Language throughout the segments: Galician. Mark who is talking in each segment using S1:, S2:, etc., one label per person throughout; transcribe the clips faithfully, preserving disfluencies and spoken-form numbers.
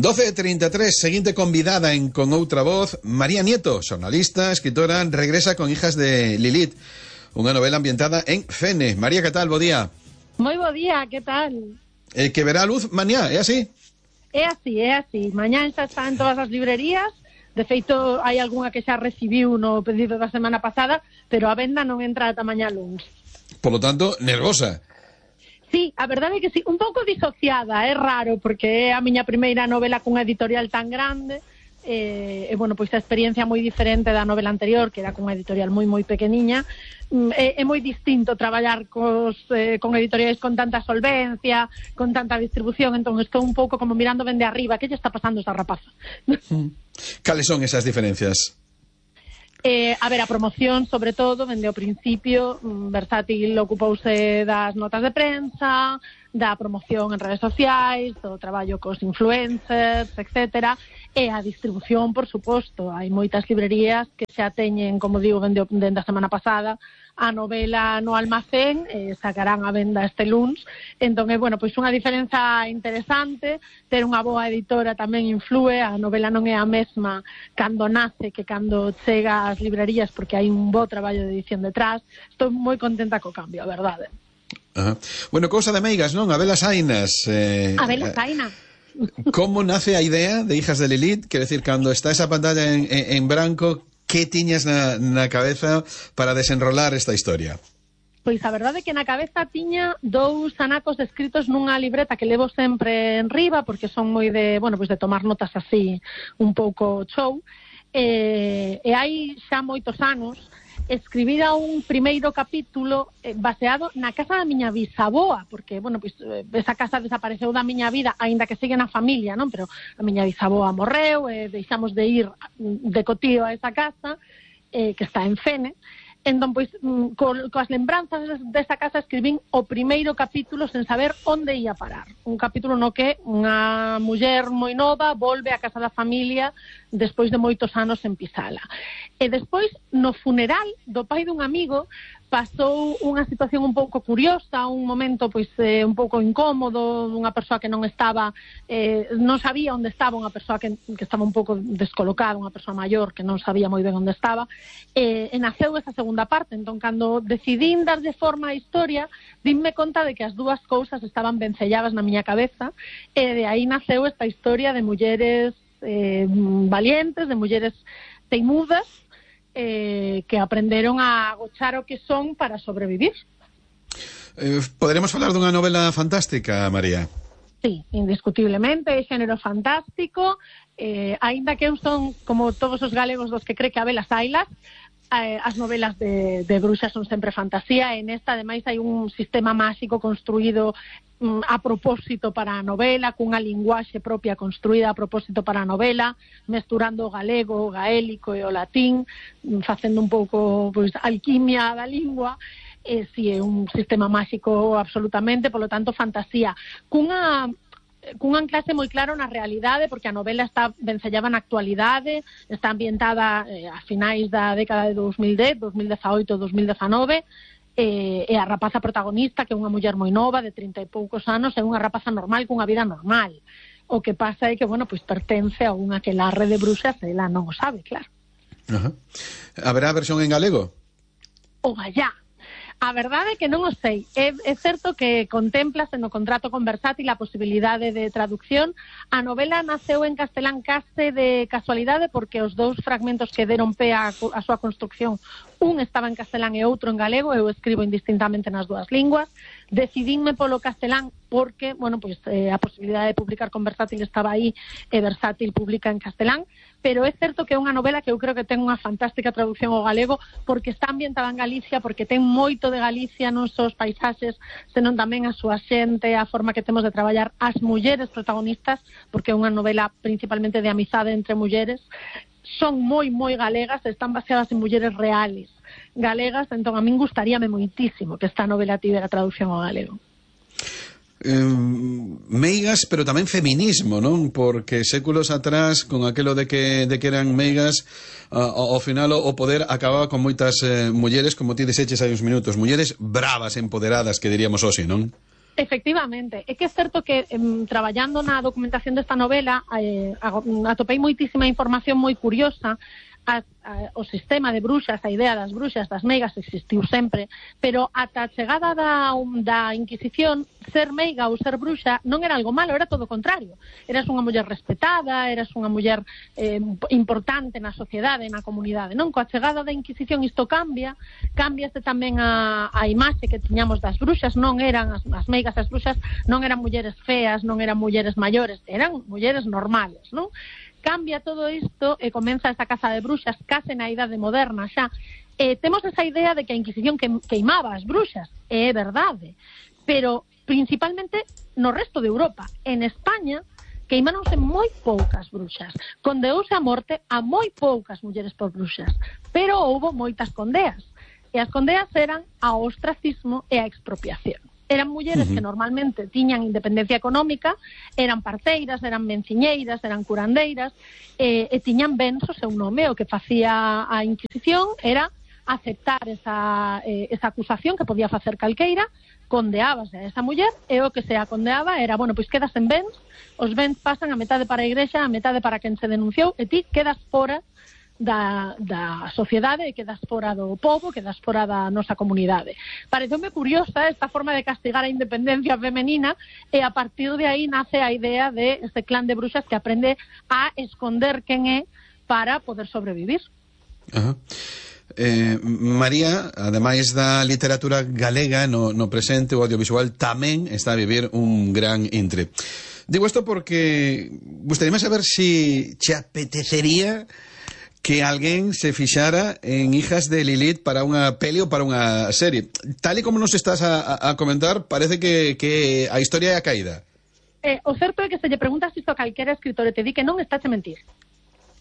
S1: doce e trinta e tres, seguinte convidada en Con Outra Voz, María Nieto, xornalista, escritora, regresa con Hijas de Lilith, unha novela ambientada en Fene. María, que tal? Bo día.
S2: Moi bo día, que tal?
S1: Eh, que verá a luz mañá, é así?
S2: É así, é así. Mañá xa está en todas as librerías. De feito, hai algunha que xa recibiu no pedido da semana pasada, pero a venda non entra ata mañá luns.
S1: Por lo tanto, nervosa.
S2: Sí, a verdade é que sí, un pouco disociada, é raro, porque é a miña primeira novela cunha editorial tan grande, e, e bueno, pois a experiencia moi diferente da novela anterior, que era cunha editorial moi moi pequeniña. É, é moi distinto traballar cos, eh, con editoriais con tanta solvencia, con tanta distribución, entón estou un pouco como mirando ben de arriba, que lle está pasando esa rapaza?
S1: Cales son esas diferencias?
S2: Eh, a ver, a promoción, sobre todo, dende o principio, Versátil ocupouse das notas de prensa, da promoción en redes sociais, do traballo cos influencers, etcétera, e a distribución, por suposto. Hai moitas librerías que xa teñen, como digo, dende, dende a semana pasada, a novela no almacén, eh, sacarán a venda este luns. Entón, é, bueno, pois unha diferenza interesante, ter unha boa editora tamén influe, a novela non é a mesma cando nace que cando chega ás librerías, porque hai un bo traballo de edición detrás. Estou moi contenta co cambio, a verdade.
S1: Ajá. Bueno, cousa de meigas, non? Abelas Ainas. Eh,
S2: Abelas Ainas.
S1: Como nace a idea de Hijas de Lilith? Quer decir, cando está esa pantalla en, en, en branco, que tiñas na, na cabeza para desenrolar esta historia?
S2: Pois a verdade é que na cabeza tiña dous anacos escritos nunha libreta que levo sempre en riba, porque son moi de, bueno, pois de tomar notas así un pouco show, e, e hai xa moitos anos escribira un primeiro capítulo eh, baseado na casa da miña bisaboa, porque, bueno, pois, esa casa desapareceu da miña vida, aínda que segue na familia, non? Pero a miña bisaboa morreu, e eh, deixamos de ir de cotío a esa casa, eh, que está en Fene. Entón, pois, co, coas lembranzas desa casa escribín o primeiro capítulo sen saber onde ia parar. Un capítulo no que unha muller moi nova volve á casa da familia despois de moitos anos en Pisala. E despois, no funeral do pai dun amigo, pasou unha situación un pouco curiosa, un momento pois eh, un pouco incómodo, unha persoa que non estaba, eh, non sabía onde estaba, unha persoa que, que estaba un pouco descolocada, unha persoa maior que non sabía moi ben onde estaba, e, e naceu esa segunda parte. Entón, cando decidín dar de forma a historia, dínme conta de que as dúas cousas estaban ben selladas na miña cabeza, e de aí naceu esta historia de mulleres eh, valientes, de mulleres teimudas, Eh, que aprenderon a agochar o que son para sobrevivir.
S1: Eh, poderemos falar dunha novela fantástica, María?
S2: Sí, indiscutiblemente, é xénero fantástico, eh, aínda que eu son, como todos os galegos dos que cree que Abelas Ailas, eh, as novelas de, de bruxas son sempre fantasía, e nesta, ademais, hai un sistema máxico construído a propósito para a novela, cunha linguaxe propia construída a propósito para a novela, mesturando o galego, o gaélico e o latín, facendo un pouco, pois, alquimia da lingua. E si é un sistema máxico absolutamente, polo tanto, fantasía. Cunha cun anclaxe moi claro na realidade, porque a novela está vencellada na actualidade, está ambientada eh, a finais da década de dos mil dez, dos mil dezaoito, dos mil dezanove, e, e a rapaza protagonista, que é unha muller moi nova, de trinta e poucos anos, é unha rapaza normal, cunha vida normal. O que pasa é que, bueno, pois pertence a un aquelarre de bruxas, e ela non o sabe, claro.
S1: Ajá. Haberá versión en galego?
S2: O gallá. A verdade é que non o sei. É, é certo que contemplase no contrato con Versátil a posibilidade de traducción. A novela naceu en castelán case de casualidade, porque os dous fragmentos que deron pé a, a súa construcción, un estaba en castelán e outro en galego, eu escribo indistintamente nas dúas linguas. Decidínme polo castelán porque, bueno, pois eh, a posibilidade de publicar con Versátil estaba aí, e Versátil publica en castelán, pero é certo que é unha novela que eu creo que ten unha fantástica traducción ao galego, porque está ambientada en Galicia, porque ten moito de Galicia non só os paisaxes, senón tamén a súa xente, a forma que temos de traballar as mulleres protagonistas, porque é unha novela principalmente de amizade entre mulleres. Son moi, moi galegas, están baseadas en mulleres reales galegas, entón a min gustaríame moitísimo que esta novela tivera traducción ao galego.
S1: Eh, meigas, pero tamén feminismo, non? Porque séculos atrás, con aquelo de que, de que eran meigas, uh, ao final o poder acababa con moitas eh, mulleres, como ti dixeches hai uns minutos, mulleres bravas, empoderadas, que diríamos hoxe, non?
S2: Efectivamente, é que é certo que em, traballando na documentación desta novela eh, atopei moitísima información moi curiosa. A, a, o sistema de bruxas, a idea das bruxas, das meigas existiu sempre, pero ata a chegada da, um, da Inquisición, ser meiga ou ser bruxa non era algo malo, era todo o contrario. Eras unha muller respetada, eras unha muller eh, importante na sociedade, na comunidade, non? Coa chegada da Inquisición isto cambia, cambiase tamén a, a imaxe que tiñamos das bruxas, non eran as, as meigas, as bruxas non eran mulleres feas, non eran mulleres maiores, eran mulleres normales, non? Cambia todo isto e comeza esa caza de bruxas case na idade moderna xa. E temos esa idea de que a Inquisición queimaba as bruxas, e é verdade, pero principalmente no resto de Europa. En España queimáronse moi poucas bruxas, condeouse a morte a moi poucas mulleres por bruxas, pero houbo moitas condeas, e as condeas eran a ostracismo e a expropiación. Eran mulleres uh-huh. que normalmente tiñan independencia económica, eran parteiras, eran menciñeiras, eran curandeiras, e, e tiñan ben o seu nome. O que facía a Inquisición era aceptar esa, eh, esa acusación que podía facer calqueira, condeábase a esa muller, e o que se a condeaba era, bueno, pois quedas en bens, os bens pasan a metade para a igrexa, a metade para quen se denunciou, e ti quedas fora Da, da sociedade, quedas fora do povo, quedas fora da nosa comunidade. Pareceume curiosa esta forma de castigar a independencia femenina, e a partir de aí nace a idea de este clan de bruxas que aprende a esconder quen é para poder sobrevivir.
S1: Ajá. Eh, María, ademais da literatura galega no, no presente, o audiovisual tamén está a vivir un gran intre. Digo isto porque gustaríame saber si te apetecería que alguén se fixara en Hijas de Lilith para unha peli ou para unha serie. Tal e como nos estás a, a comentar, parece que, que a historia é a caída.
S2: Eh, o certo é que se lle preguntas isto a calquera escritor e te di que non está a mentir.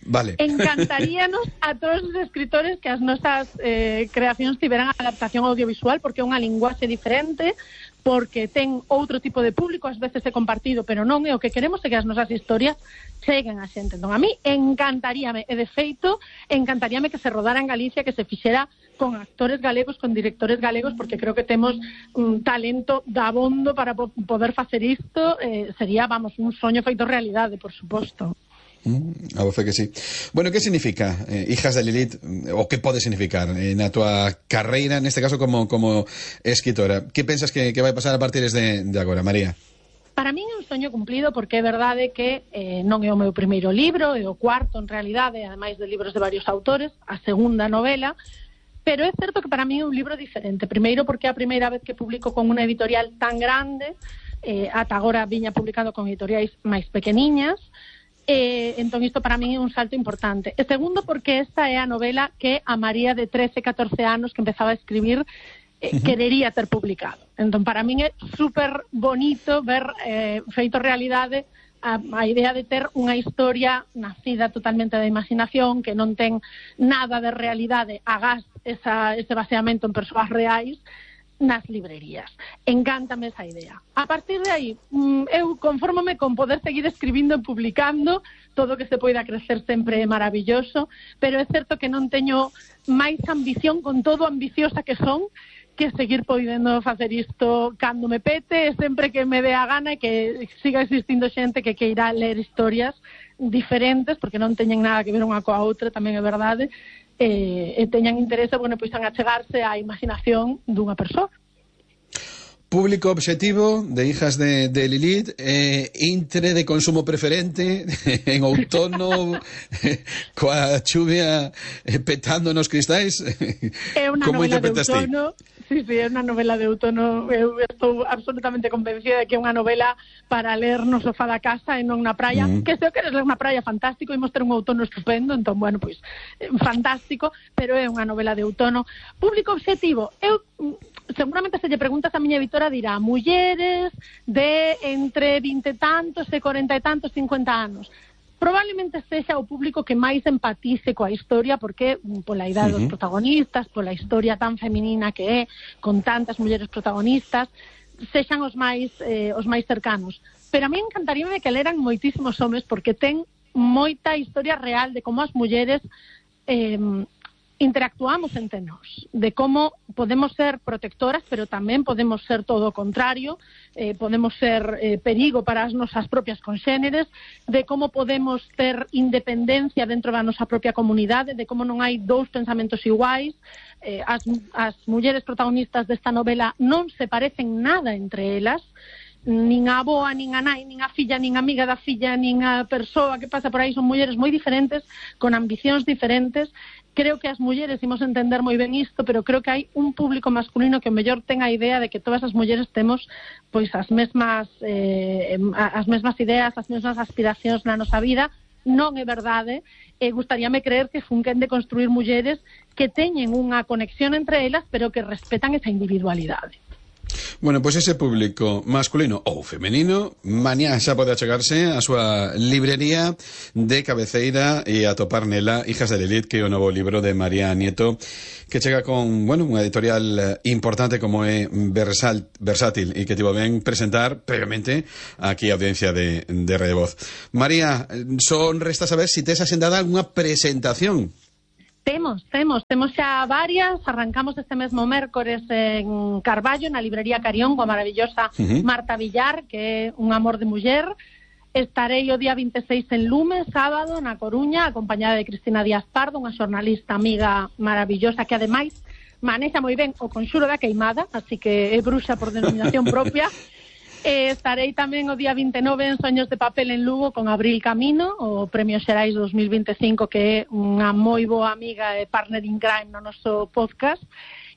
S1: Vale.
S2: Encantaríanos a todos os escritores que as nosas eh, creacións tiveran adaptación audiovisual, porque é unha linguaxe diferente, porque ten outro tipo de público, ás veces é compartido, pero non é o que queremos, é que as nosas historias cheguen a xente. Entón, a mí encantaríame, e de feito, encantaríame que se rodara en Galicia, que se fixera con actores galegos, con directores galegos, porque creo que temos un talento dabondo para po poder facer isto. Eh, sería, vamos, un soño feito realidade, por suposto.
S1: Mm, a voce que sí. Bueno, que significa eh, Hijas de Lilith, o que pode significar eh, na tua carreira, neste caso como, como escritora? Que pensas que, que vai pasar a partir de, de agora, María?
S2: Para min é un soño cumplido, porque é verdade que eh, non é o meu primeiro libro, é o cuarto en realidade, ademais de libros de varios autores, a segunda novela, pero é certo que para min é un libro diferente. Primeiro porque é a primeira vez que publico con unha editorial tan grande, eh, ata agora viña publicando con editoriais máis pequeniñas. Eh, entón isto para min é un salto importante. E segundo porque esta é a novela que a María de trece, catorce anos que empezaba a escribir eh, uh-huh. querería ter publicado. Entón para min é super bonito ver eh, feito realidade a, a idea de ter unha historia nacida totalmente da imaginación, que non ten nada de realidade, agás esa, ese baseamento en persoas reais nas librerías. Encántame esa idea. A partir de aí, eu confórmome con poder seguir escribindo e publicando. Todo o que se poida crecer sempre é maravilloso, pero é certo que non teño máis ambición, con todo ambiciosa que son, que seguir podendo facer isto cando me pete, e sempre que me dé a gana, e que siga existindo xente que queira ler historias diferentes, porque non teñen nada que ver unha coa outra, tamén é verdade, e, e teñan interese, bueno, pois en achegarse á imaginación dunha persoa.
S1: Público objetivo de Hijas de, de Lilith, eh, intre de consumo preferente en outono, coa chuvia eh, petando nos cristais.
S2: É unha novela de outono. Sí, sí, é unha novela de outono. Eu estou absolutamente convencida de que é unha novela para ler no sofá da casa e non na praia. Mm. Que se o queres ler na praia, fantástico, imos ter un outono estupendo, entón, bueno, pois, fantástico, pero é unha novela de outono. Público objetivo, eu seguramente se lle preguntas a miña editora dirá mulleres de entre vinte e tantos e corenta e tantos, cincuenta anos. Probablemente sexa o público que máis empatice coa historia, porque pola idade uh-huh. dos protagonistas, pola historia tan feminina que é, con tantas mulleres protagonistas, sexan os máis eh, os máis cercanos. Pero a mí encantaríame que leran moitísimos homes, porque ten moita historia real de como as mulleres eh, interactuamos entre nós, de como podemos ser protectoras, pero tamén podemos ser todo o contrario, eh, podemos ser eh, perigo para as nosas propias conxéneres, de como podemos ter independencia dentro da nosa propia comunidade, de como non hai dous pensamentos iguais. eh, as, as mulleres protagonistas desta novela non se parecen nada entre elas, nin a avoa, nin a nai, nin a filla, nin a amiga da filla, nin a persoa que pasa por aí, son mulleres moi diferentes, con ambicións diferentes. Creo que as mulleres imos entender moi ben isto, pero creo que hai un público masculino que o mellor ten a idea de que todas as mulleres temos pois as mesmas eh, as mesmas ideas, as mesmas aspiracións na nosa vida. Non é verdade, e gustaríame creer que funquen de construir mulleres que teñen unha conexión entre elas, pero que respetan esa individualidade.
S1: Bueno, pois ese público masculino ou femenino mañá xa pode achegarse a súa librería de cabeceira e atopar nela Hijas de Lilith, que é o novo libro de María Nieto, que chega con, bueno, unha editorial importante como é Versal, Versátil, e que tivo ben presentar previamente aquí a audiencia de, de Radio Voz. María, son resta saber se si tes asendada unha presentación.
S2: Temos, temos, temos xa varias. Arrancamos este mesmo mércores en Carballo, na librería Carión, coa maravillosa uh-huh. Marta Villar, que é un amor de muller. Estarei o día vinte e seis en Lume, sábado, na Coruña, acompañada de Cristina Díaz Pardo, unha xornalista amiga maravillosa que ademais manexa moi ben o conxuro da queimada, así que é bruxa por denominación propia. E estarei tamén o día vinte e nove en Soños de Papel en Lugo con Abril Camino, o Premio Xerais dos mil vinte e cinco, que é unha moi boa amiga e partner in crime no noso podcast.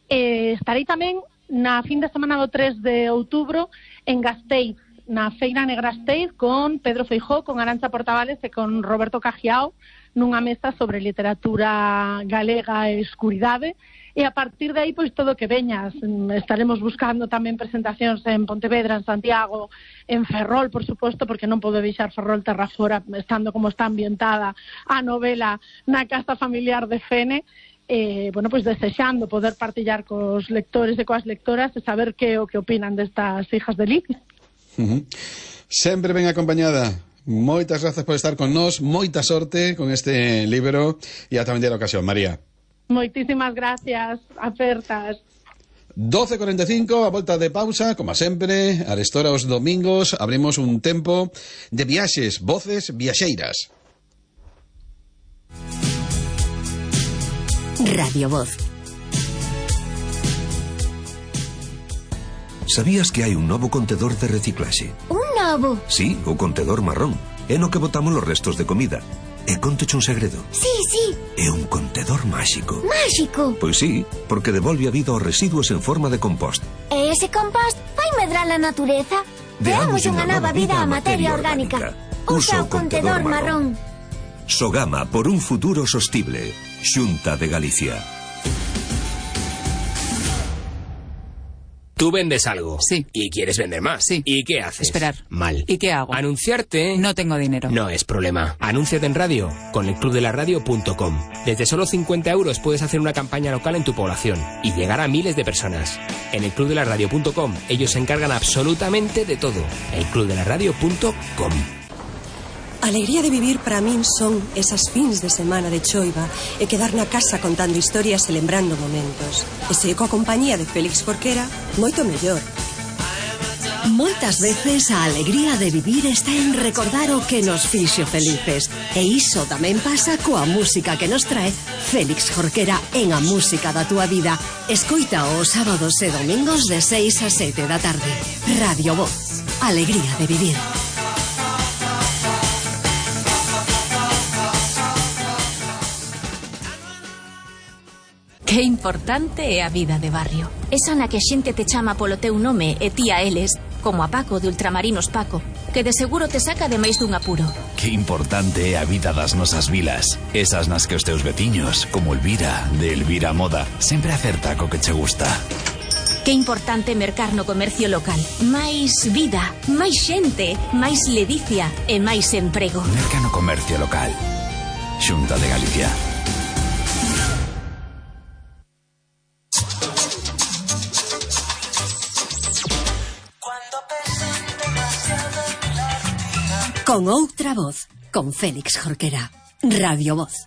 S2: E estarei tamén na fin de semana do tres de outubro en Gasteiz, na Feira Negra Gasteiz, con Pedro Feijó, con Arantxa Portavales e con Roberto Cajiao, nunha mesa sobre literatura galega e escuridade. E a partir de aí, pois, todo o que veñas. Estaremos buscando tamén presentacións en Pontevedra, en Santiago, en Ferrol, por suposto, porque non podo deixar Ferrol terra fora, estando como está ambientada a novela na casa familiar de Fene. Eh, bueno, pois desexando poder partillar cos lectores e coas lectoras e saber que o que opinan destas Hijas de Lilith.
S1: Uh-huh. Sempre ben acompañada. Moitas grazas por estar con nós, moita sorte con este libro e ata vender a ocasión, María.
S2: Moitísimas gracias, apertas.
S1: doce e cuarenta e cinco, a volta de pausa, como sempre, a restora os domingos abrimos un tempo de viaxes, voces viaxeiras.
S3: Radio Voz.
S4: Sabías que hai un novo contedor de reciclaxe?
S3: Un novo?
S4: Sí, o contedor marrón. É no que botamos os restos de comida. E conteche un segredo.
S3: Sí, sí.
S4: É un contedor máxico.
S3: Máxico?
S4: Pois sí, porque devolve a vida aos residuos en forma de compost.
S3: E ese compost vai medrar a natureza? Deamos unha nova vida á materia orgánica. Usa o contedor marrón.
S4: Sogama por un futuro sostible. Xunta de Galicia.
S5: Tú vendes algo.
S6: Sí.
S5: Y quieres vender más.
S6: Sí.
S5: ¿Y qué haces?
S6: Esperar.
S5: Mal.
S6: ¿Y qué hago?
S5: Anunciarte.
S6: No tengo dinero.
S5: No es problema. Anúnciate en radio con el club de la radio punto com. Desde solo cincuenta euros puedes hacer una campaña local en tu población y llegar a miles de personas. En el club de la radio punto com ellos se encargan absolutamente de todo. el club de la radio punto com.
S7: A alegría de vivir para min son esas fins de semana de choiva e quedar na casa contando historias e lembrando momentos. E se coa compañía de Félix Jorquera, moito mellor.
S3: Moitas veces a alegría de vivir está en recordar o que nos fixo felices. E iso tamén pasa coa música que nos trae Félix Jorquera en A Música da Túa Vida. Escoita os sábados e domingos de seis a sete da tarde. Radio Voz. Alegría de vivir.
S8: Que importante é a vida de barrio.
S3: Esa na que a xente te chama polo teu nome e ti a eles, como a Paco de Ultramarinos Paco, que de seguro te saca de máis dun apuro.
S9: Que importante é a vida das nosas vilas. Esas nas que os teus veciños, como Elvira, de Elvira Moda, sempre acerta co que che gusta.
S3: Que importante mercar no comercio local. Máis vida, máis xente, máis ledicia e máis emprego.
S9: Merca no comercio local. Xunta de Galicia.
S3: Con outra voz, con Félix Jorquera. Radio Voz.